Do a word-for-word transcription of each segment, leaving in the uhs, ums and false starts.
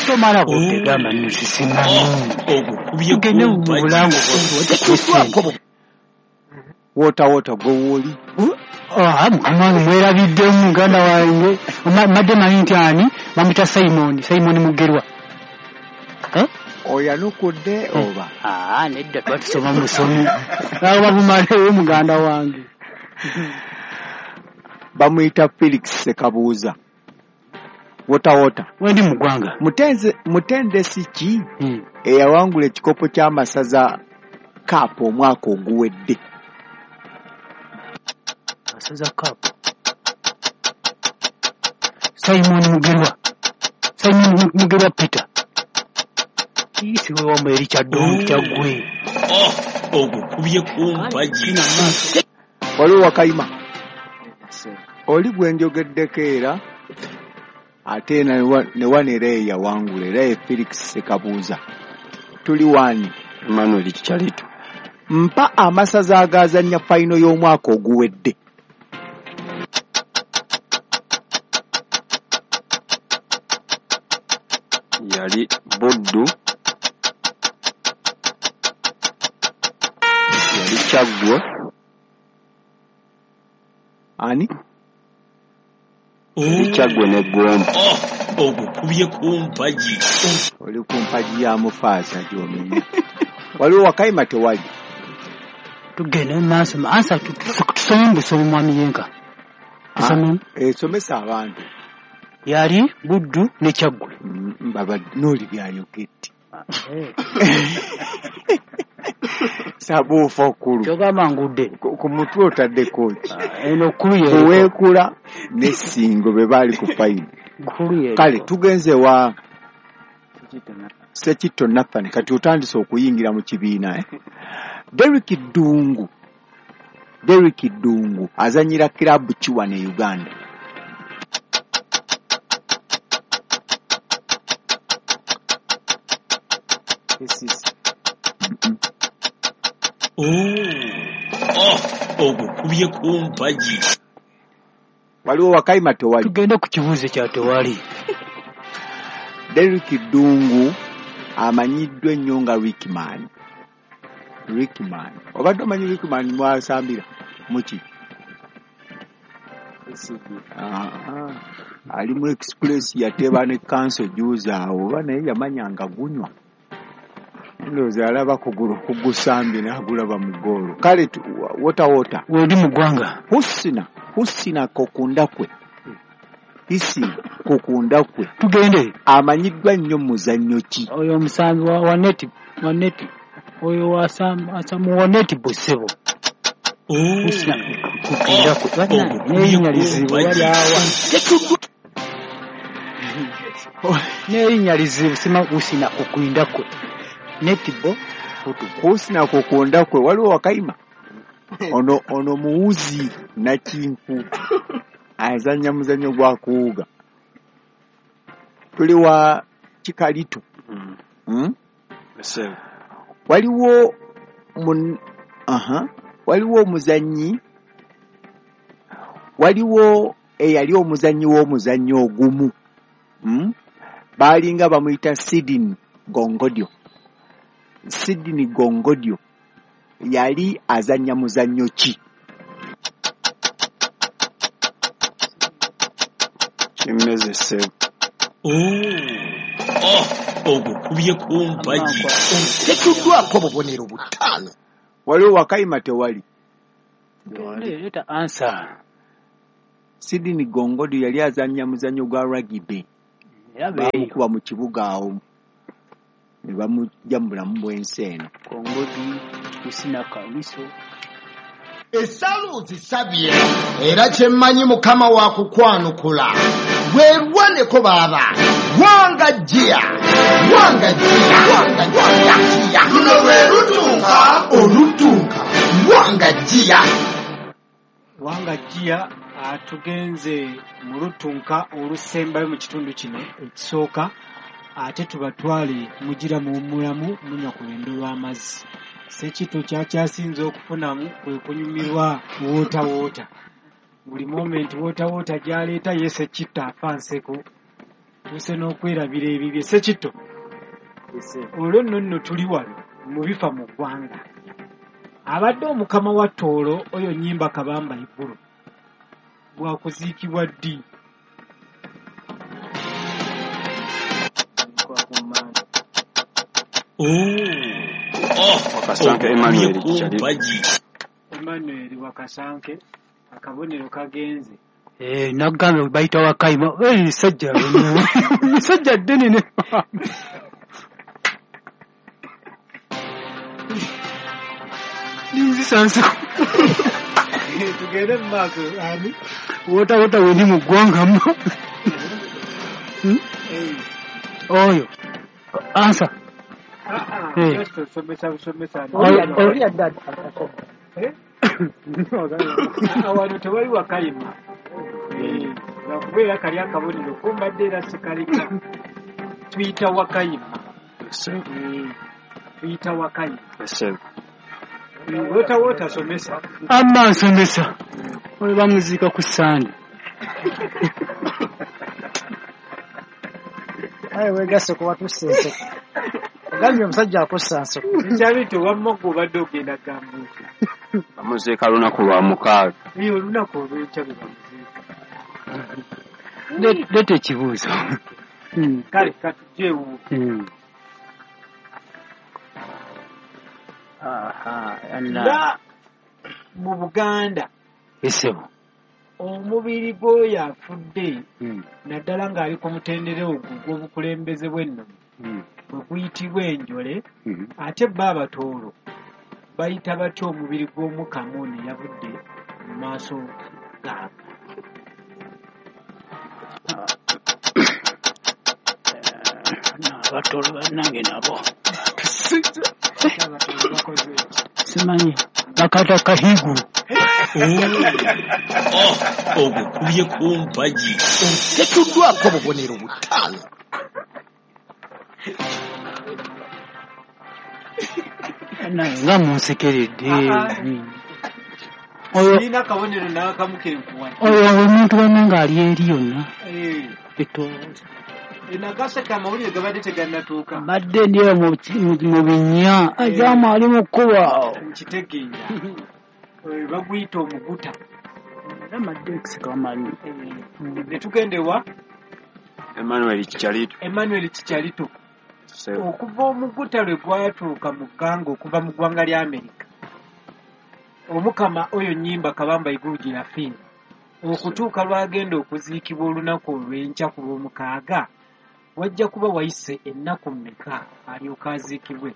Tomala budde gamba nno sisimanyi. Ogukubye Tugende ku mu mpagi. bulango bwaffe. Tetuddwako Wota wota gwe wooli. Ah, mukama wange mwerabiddemu muganda wange. Ma- Mbadde manyi nti ani bamuyita Simon, Simon Mugerwa. Eh? Oyanukudde oba? Ah, nedda twatusoma musomi. Awo babumaleyo muganda wange. Bamuyita Felix Sekabuuza. Wota wota. Wendi mu ggwanga. Mutenze mutendesi ki Hmm. eyawangula ekikopo ky'amasaza Cup omwaka oguwedde? Masaza Cup. Simon Mugerwa. Simon Mugerwa Peter. Isi wewe wamwe Richard Dong Kyaggwe. Ogukubye ku mpagi. Waliwo Wakayima. Oli gwe njogeddeko era ate ne wano era ye yawangula era ye Felix Sekabuuza. Tuli wani? Emmanuel Kichalito. Mpa amasaza agaazannya fayino y'omwaka oguwedde. Yali Buddu, yali Kyaggwe, Ani? yali Kyaggwe ne Gomba. Ogukubye ku mpagi. Oli ku mpagi ya Mufaasa gy'omenya. Waliwo Wakayima tewali. Tugende mu maaso. Ansa tusome busomi mwami Yenka. Tusome. Eh, somesa abantu. Yali Buddu ne Kyaggwe. Mm, Baba n'oli byayogedde. Sabuufa okulu. Kyogamba ngudde. Ku ku mutwe otaddeko ki? Eno kkulu yeriko. Kuweekula ne Ssingo be baali ku fayino. Kkulu yeriko. Kale tugenze wa Ssekitto Nathan kati otandise okuyingira mu kibiina eh? Derrick Ddungu. Derrick Ddungu azannyira kiraabu ki wano e Uganda? Ogukubye ku mpagi. Waliwo Wakayima tewali. Tugende ku kibuuzo kya tewali. Derrick Ddungu amanyiddwa ennyo nga Rickman. Rickman. Obadde omanyi Rickman mwasambira muki? Ah, ali mu Express yateeba ne kanso juzi awo oba naye yamanya nga gunywa. Ndowooza alaba kugulu kugusambye n'agulaba mu ggoolo. Kale wota wota. Wendi mu ggwanga. Husina, Husina Kokundakwe. Husina Kokundakwe. Tugende. Amanyiddwa nnyo mu muzannyo ki? Oyo omusambi wa, wa neti, wa neti. Oyo wasamu wa neti ssebo. Husina Kokundakwe. N'erinnya lizibu wali awa. N'erinnya lizibu sima Husina Kokundakwe. Netibo Husina Kokundakwe waliwo Wakayima. Ono ono muwuzi nakinku azannya muzannyo gwa kuwuga. Tuli wa Kikalitu. Mm. Waliwo mun aha waliwo omuzannyi waliwo eyali omuzannyi w'omuzannyo ogumu. Mm? Baalinga bamuyita Sidney Gongodyo. Sidney Gongodyo yali azannya muzannyo ki? Kimmeze ssebo. Ogukubye ku mpagi. Tetuddwako bubonero butaano. Waliwo Wakayima tewali. Leeta ansa. Sidney Gongodyo yali azannya muzannyo gwa rugby. Bamukuba mu kibuga awo ne bamujja mu bulamu bw'ensi eno. Gongodyo, Husina Kawiso. Essala ozisabye era kye mmanyi Mukama wa kukwanukula. Weerwaneko baaba. Wanga jjiya, wanga jjiya, wanga jjiya. Luno lwe lutunka olutunka. Wanga jjiya. Wanga jjiya atugenze mu lutunka olusembayo mu kitundu kino ekisooka ate tubatwale mugira muwummulamu munywa ku lwendo lw'amazzi. Ssekitto kyakyasinze okufunamu kwe kunyumirwa woota woota. Buli moment woota woota gy'aleeta ye Ssekitto afa nseko. Tuuse n'okwerabira ebibye. Ssekitto, olwo nno nno tuli wano mu bifa mu ggwanga. Abadde omukama wa Tooro oyo Nnyimba Kabamba Iguru bwakuziikibwa ddi? Wakasanke Emmanuel Kikyali. Emmanuel Wakasanke, akabonero kagenze. Eh, nagambye bayita Wakayima. Eh, sajja sajja ddene ne ninzisansi. Tugende mu maaso ani? Wota wota wendi mu ggwanga mmo. Oyo ansa. Somesa busomesa. Oli adda. Awano tewali Wakayima. Lwakubeera kali akabonero kumbadde era sikaleka. Tuyita Wakayima. Tuyita Wakayima. Wota wota somesa. Amma nsomesa. Oyo bamuziika ku Ssande. Aye weegasse ku watussa enseko. Ogambye omusajja akussa nseko. Nkyabito wamma gwe obadde ogenda gambuuka. Bamuziika lunaku lwa mukaaga. Ee, olunaku olw'enkya lwe bamuziika. Leeta ekibuuzo. Kale katujje ewuwo. Nga mu Buganda Esebo omubiri gw'oyo afudde naddala ng'ali ku mutendera ogwo ogw'obukulembeze bw'ennono bwe guyitibwa enjole, ate bo Abatooro bayita batya omubiri gw'Omukama ono eyavudde mu maaso gaabwe? Abatooro bannange nabo simanyi bakata kahiguru. Ogukubye ku mpagi. Tetuddwako bubonero butaano. Nga munsekeredde. Sirina kabonero n'akamu ke nkuwadde. Oyo omuntu bannange ali eri yonna. Enagaseka amawulire gabadde tegannatuuka. Mbadde ndi eyo mu binnya. Ajamu ali mu kkubo awo. Nkitegeera. Baguyita omuguta. Era mbadde nkuseka bamanyi. Ne tugenda ewa? Emmanuel Kikyalito. Emmanuel Kikyalito. Okuva omuguta lwe gwatuuka mu ggwanga okuva mu ggwanga lya Amerika, Omukama oyo Nnyimba Kabamba Iguru gye yafiira, okutuuka lw'agenda okuziikibwa olunaku olw'enkya ku Lwomukaaga, wajja kuba wayise ennaku mmeka alyoke aziikibwe?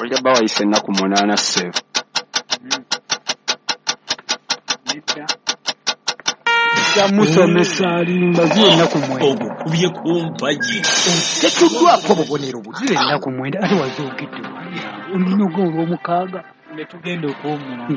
Wajja kuba wayise ennaku munaana ssebo. Nedda. Musomesa alimba ziwe ennaku mwenda. Ogukubye ku mpagi. Tetuddwako bubonero ziwe ennaku mwenda ate wazoogedde wali olina ogw'olwomukaaga. Ne tugenda okuwummula.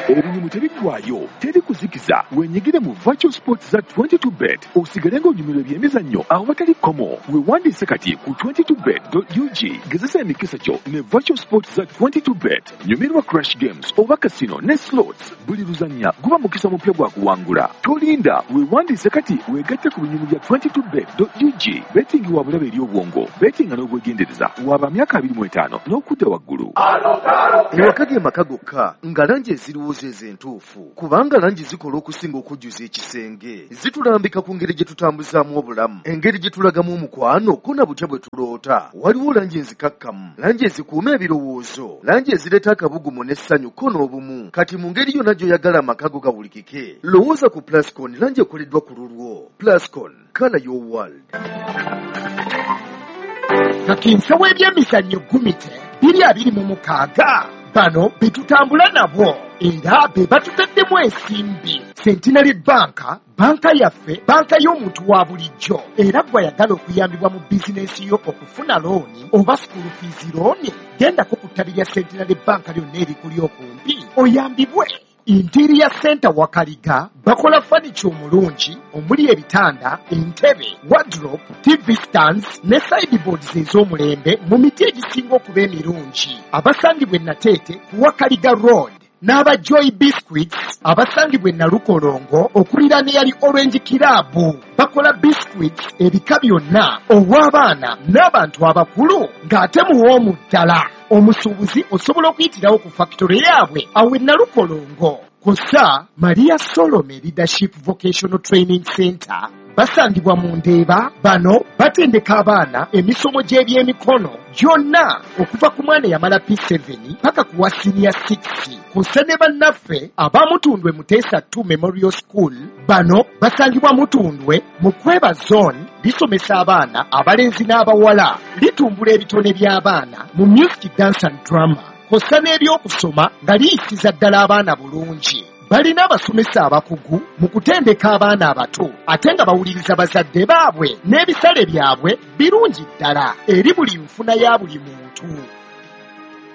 Ebinyumu tebiggwaayo, teri kuzikiza. Wenyigire mu virtual sports za twenty-two bet osigale ng'onyumirwa ebyemizannyo awatali kkomo. Weewandiise kati ku twenty-two bet dot U G. Gezesa emikisa gyo ne virtual sports za twenty-two bet. Nyumirwa crash games oba casino ne slots. Buli luzannya guba mukisa mupya gwa kuwangula. Tolinda, weewandiise kati weegatte ku binyumu bya twenty-two bet dot U G. Betting wa bulabe eri obwongo, betting n'obwegendereza. Waba myaka abiri mu etaano n'okudda waggulu. Ewaka ge maka gokka nga langi eziriwo entuufu, kubanga langi zikola okusinga okujjuza ekisenge. Zitulambika ku ngeri gye tutambuzaamu obulamu, engeri gye tulagamu omukwano, ko na butya bwe tuloota. Waliwo langi enzikakkamu, langi ezikuuma ebirowoozo, langi ezireeta akabugumu n'essanyu ko n'obumu. Kati mu ngeri yonna gy'oyagala amaka go gawulikike, lowooza ku Plascon, langi ekoleddwa ku lulwo. Plascon, colour your world. Kakinsa w'ebyemizannyo Gumite biri abiri mu mukaaga bano be tutambula nabo era be batutaddemu ensimbi. Centenary Bank, banka yaffe, banka y'omuntu wa bulijjo, era gw'ayagala okuyambibwa mu bizinensi yo okufuna looni oba school fees looni, gendako ku ttabi lya Centenary Bank lyonna erikuli okumpi oyambibwe. Interior Center Wakaliga bakola furniture omulungi omuli ebitanda, entebe, wardrobe, T V stands ne sideboards ez'omulembe mu miti egisinga okuba emirungi. Abasangibwa e Nateete ku Wakaliga Road n'aba Joy Biscuits abasangibwa e Nalukolongo okuliraana eyali Orange Club. Bakola biscuits ebika byonna ow'abaana n'abantu abakulu ng'ate muwoomu ddala. Omusuubuzi osobola okuyitirawo ku factory yaabwe awo e Nalukolongo. Kw'ossa Maria Solome Leadership Vocational Training Center basangibwa mu Ndeeba. Bano batendeka abaana emisomo gy'ebyemikono gyonna okuva ku mwana eyamala P seven paka ku wa senior six. Kw'ossa ne bannaffe abamutundwe Muteesa two Memorial School. Bano basangibwa Mutundwe mu Kweba Zone. Lisomesa abaana abalenzi n'abawala, litumbula ebitone by'abaana mu music, dance and drama, kw'ossa n'ebyokusoma nga liyisiza ddala abaana bulungi. Balina abasomesa abakugu mu kutendeka abaana abato ate nga bawuliriza bazadde baabwe, n'ebisale byabwe birungi ddala eri buli nfuna ya buli muntu.